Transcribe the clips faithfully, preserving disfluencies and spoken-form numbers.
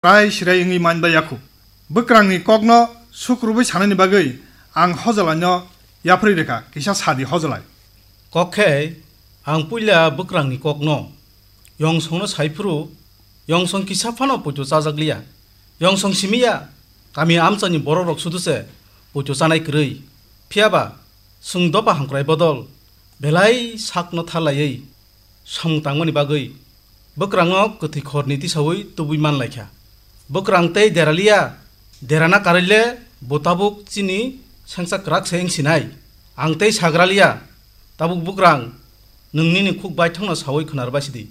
Rai sirai wngwi man bai yakhu. Bwkrangni kokno sukrubwi sanani bagwi ang hojalaino yapharwi rwkha, kisa sadi hojalai. Kok khe ang puila bwkrangni kokno yongsongno saiphuru, yongsong kisa phano poito chajakliya. Yongsong simiya, kami amchaini borokrok sudu se poito chanai kwrwi. Phiyaba chwng dopha hamkrai bodol belai sakno tharlaiwi samung tangmani bagwi bwkrangno kwthwi khorni tisaui tubui manlaikha. Bwkrang tei deraliya, derana karwile bo tabuk chini sengsa kwrak se wngsinai. Ang tei sagraliya, tabuk bwkrang, nwng nini khuk baithangno saui khwnarbai sidi.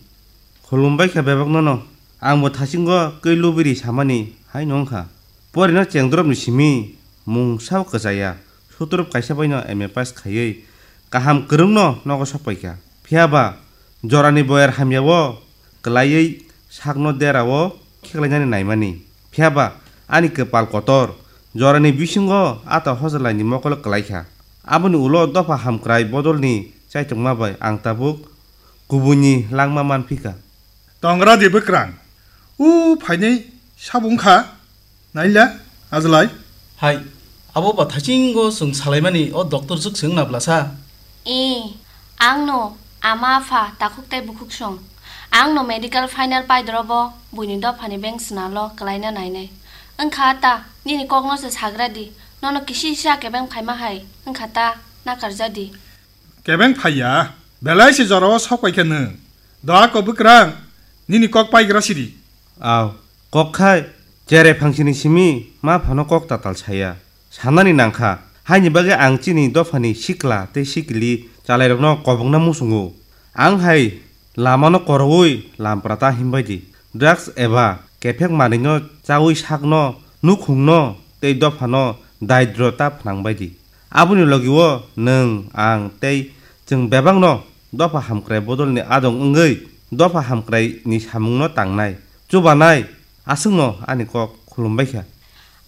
Khulumbai kha bebakno no, ang bo thasingo kwi lubiri samani haino wngkha. Porino chengdrop ni simi mung sao kwchaya, sutrop kaisa baino M A pass khaiwi kaham kwrwngno nogo sokpaikha. Phiyaba jorani boyar hamyao kwlaiwi sakno derao khiklainani naimani. Phiyaba ani kwpal kotor, jorani bisingo ata hojalaini mokol kwlaikha. Aboni ulo dopha hamkrai bodolni chaitokma bai ang tabuk kubuini langma manphika. Tongra di bwkrang. U phainai sabung kha. Naila, ajlai. Hai, abo ba thachingo chwng salaimani o doctor swk se wngna blasa? E, ang no ama apha takhuk tei bukhuk song. Ang no medical final paidrobo buini dophani beng swnalo kwlaina nainai. Wngkha ta, nini kokno se sagra di, nono kisi sa kebeng phaima hai, wngkha ta, nakarja di. Kebeng phaiya, belai se jorao sok paikha nwng. Doa ko bwkrang, nini kok paigra sidi. Aw, kok khai, chere phangsini simi ma phano kok tatal saya. Sanani nangkha, haini bagwi ang chini dophani sikla tei sikli chalairokno kobokna muchungo. Ang hai lamano koroui lampra ta himbai di. Drugs eba kephek manwino chaui sakno, nukhungno tei dophano daidro ta phnangbai di. Aboni logi-o nwng, ang tei chwng bebakno dopha hamkrai bodolni adong wngwi dopha hamkraini samungno tangnai, chubanai, aswkno ani kok khulumbai kha.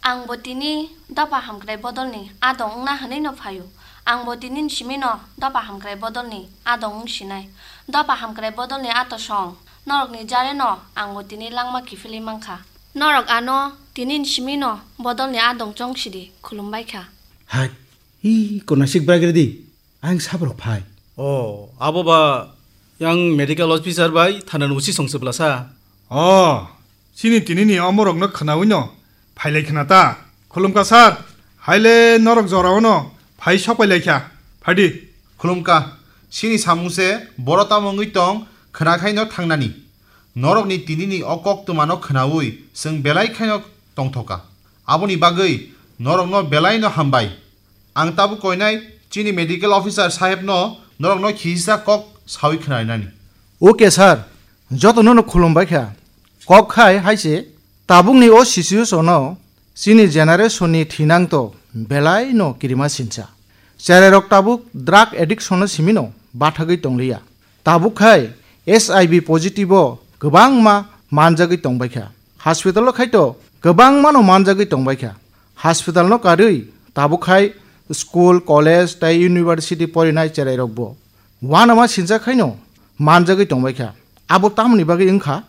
Ang bo tini dopha hamkrai bodolni adong wngna hwnwi no phaio. Ang bo tini ni simi no dopha hamkrai bodolni adong wng sinai. Dopha hamkrai bodolni ato song norokni jare no ang bo tini langma kiphilwi mankha. Norok ano tini ni simi no bodolni adong chong sidi khulumbai kha. Hai, hi konasik bwraigra di, ang sabrok phai. O, abo ba yang medical officer bai thana ni usi song se blasa. O, chini tini ni omorok no khnaui no phailai khna ta. Khulumkha sir, haile norok jorao no phai sokpai lai kha. Phaidi. Khulumkha, chini samung se boro tamo wngwi tong khna khai no thangnani. Norokni tinini o koktwmano khnaui chwng belai khaino tongthoka. Aboni bagwi norokno belaino hambai. Ang tabuk koinai chini medical officer sahebno norokno khisa kok saui khnainani. Okay sir, jotono no khulumbai kha. Kok khai hai se, tabukni o situation-o chini generation-ni thinang to belai no kirima sinsa. Cherairok tabuk drug addiction-o simi no bathagwi tongliya. Tabuk khai H I V positive-o kwbangma manjagwi tongbaikha. Hospital-o khai to kwbangmano manjagwi tongbaikha. Hospital-no karwi tabuk khai school, college tei university porinai cherairokbo uanama sinsa khaino manjagwi tongbaikha. Abo tamoni bagwi wngkha?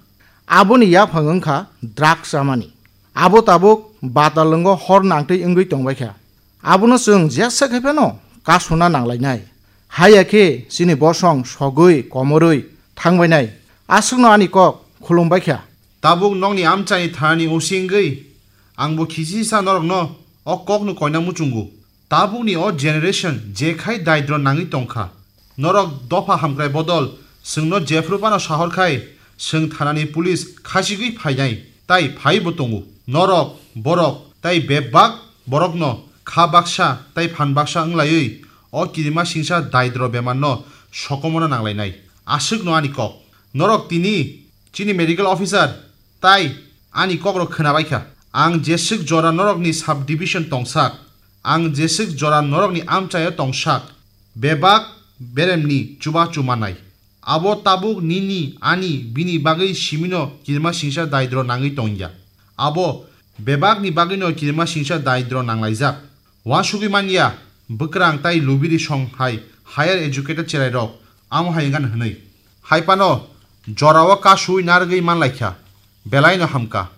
Aboni yaphang wngkha drug chamani. Abo tabuk batalwngo hor nangtwi wngwi tongbaikha. Abono chwng jesa khai phano kasuna nanglainai. Haiya khe chini bosong sogwi komorwi thangbainai. Aswkno ani kok khulumbaikha. Tabuk nokni amchaini thanani usi wngwi, angbo khisisa norokno o kokno koina muchungo. Tabukni o generation jekhai daidro nangwi tongkha. Norok dopha hamkrai bodol chwngno jephru phano sahor khai, chwng thanani police khasigwi phainai, tai phaibo tongo. Norok, borok, tai bebak borokno kha baksa tai phan baksa wnglaiwi o kirima singsa daidro bemarno sokomorna nanglainai. Aswkno ani kok. Norok tini chini medical officer tai ani kokrok khwnabaikha. Ang jeswk jora norokni sub division tongsak, ang jeswk jora norokni amchaio tongsak, bebak beremni chubachu manai. Abo tabuk nini, ani, bini bagwi simino kirima singsa daidro nangwi tongya. Abo bebakni bagwino kirima singsa daidro nanglaijak. Uansugwi manya, bwkrang tai lubiri song hai higher educated cherairok amo hai wngkha hwnwi. Hai phano jorao kasui narwgwi manlaikha, belaino hamkha.